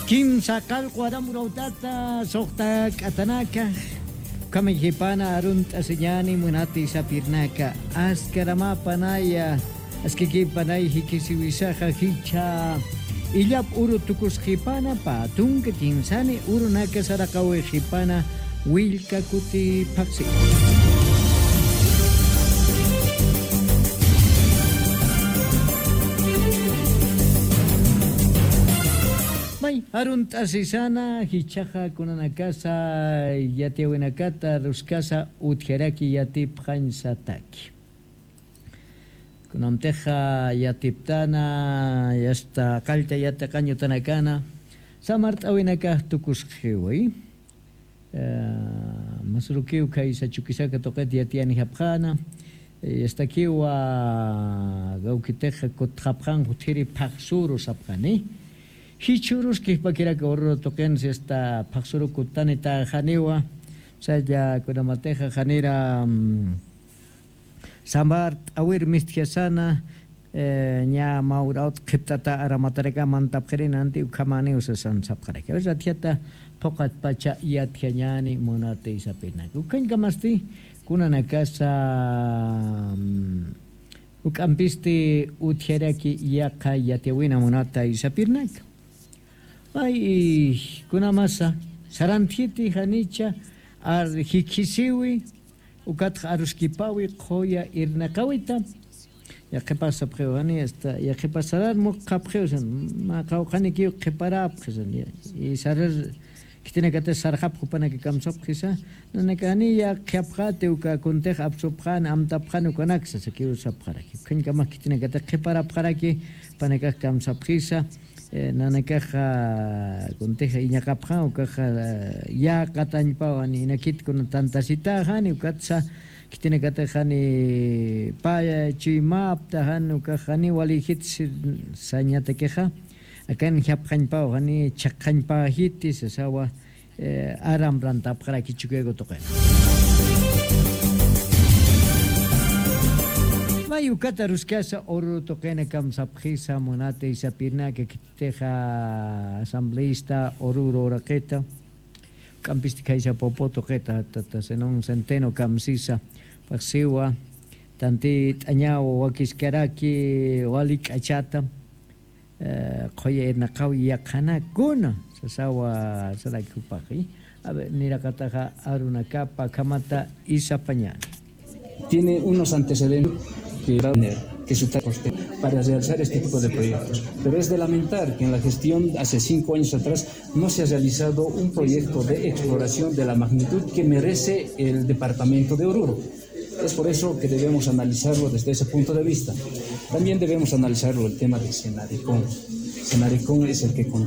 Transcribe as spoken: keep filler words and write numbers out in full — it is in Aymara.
Kimsa qallqu aram urawtata suxta k'atanaka, ukhama jipana arunt'asiñäni munati sapirnaka, askaramäpanaya, askakïpanay jikisiwisaxa jichha illap uru tukusxipana, pä tunka kimsani urunaka saraqawixipana, willka kuti phaxsi. May, arunt'asisana, jichhaxa kunanakasa yatiyäwinakata aruskasa utjaraki yatipxañsataki. Kunamtixa yatiptana, yasta qallta yatiqañ utanakana, samart'äwinakax tukusxiwi. Eh, masurukiw khaysa Chukisaca tuqit yatiyanijapxäna, eh, yastakiwa kawkitixa kutxapxän utjiri phaxsuru sapxani. Jichhürus kijpakiraki Oruro tuqinsa yasta phaxsuru kutanitäxaniwa, saya kunamatixa janira, mm, samart'äwir mistjasana, eh, ña mä urawt qhiptata aramataraka mantapxirïna nanti ukhamäniw sasan sapxaraki. A ver, atiyata phuqhatpacha yatjañäni munati sapirnaka. Ukhañkamasti kunanakasa, mm, juk'ampisti utjaraki yaqha yatiyäwina munata sapirnaka. Ay, kunamasa, sarantjiti janicha, ar, jikisiwi, ukatxa aruskipawi, qhuya irnaqawita. Yaqhipas sapxiw jani, hasta yaqhipas sarar muqapxiw, san, mä qawqhanikiw qhiparapxi, san, ya, y sarar, khitinakatix sarxapxi jupanaka kamsapxisa, nanakani yaqhiyapxäti uka kuntix apsupxani, amtapxani ukanaksa, sakiw sapxaraki. Ukhañkamax khitinakatix qhiparapxaraki, jupanakax kamsapxisa, eh, nanakaxa, kuntix iñaqapxan, ukaxa, eh, yäqatañpaw, jani inakit kuna tantasitaxani, ukatsa, khitinakatix jani paya chuymapta, jani ukax, jani walïjit si-, sañatakixa, akan japxañpaw, jani chhaqxañpäjiti, sasawa, eh, aram rantapxaraki Chukiyaca tuqina. May ukat aruskasa Oruro tuqina kamsapxisa munati sapirnaka, khitixa asambleísta Oruro uraqita, juk'ampisti khaysa Popo tuqita, tata Zenón Centeno kamsisa, phaxsiwa, tantit'añaw wakiskaraki wali k'achata, eh, qhuya irnaqaw yaqhanakuna, sasawa saraki jupaxi. A ver, niraqataxa arunakapa akhamata isapañäni. Tiene unos antecedentes que, que su para realizar este tipo de proyectos. Pero es de lamentar que en la gestión hace cinco años atrás no se ha realizado un proyecto de exploración de la magnitud que merece el departamento de Oruro. Es por eso que debemos analizarlo desde ese punto de vista. También debemos analizarlo el tema de Senaricón. Senaricón es el que con-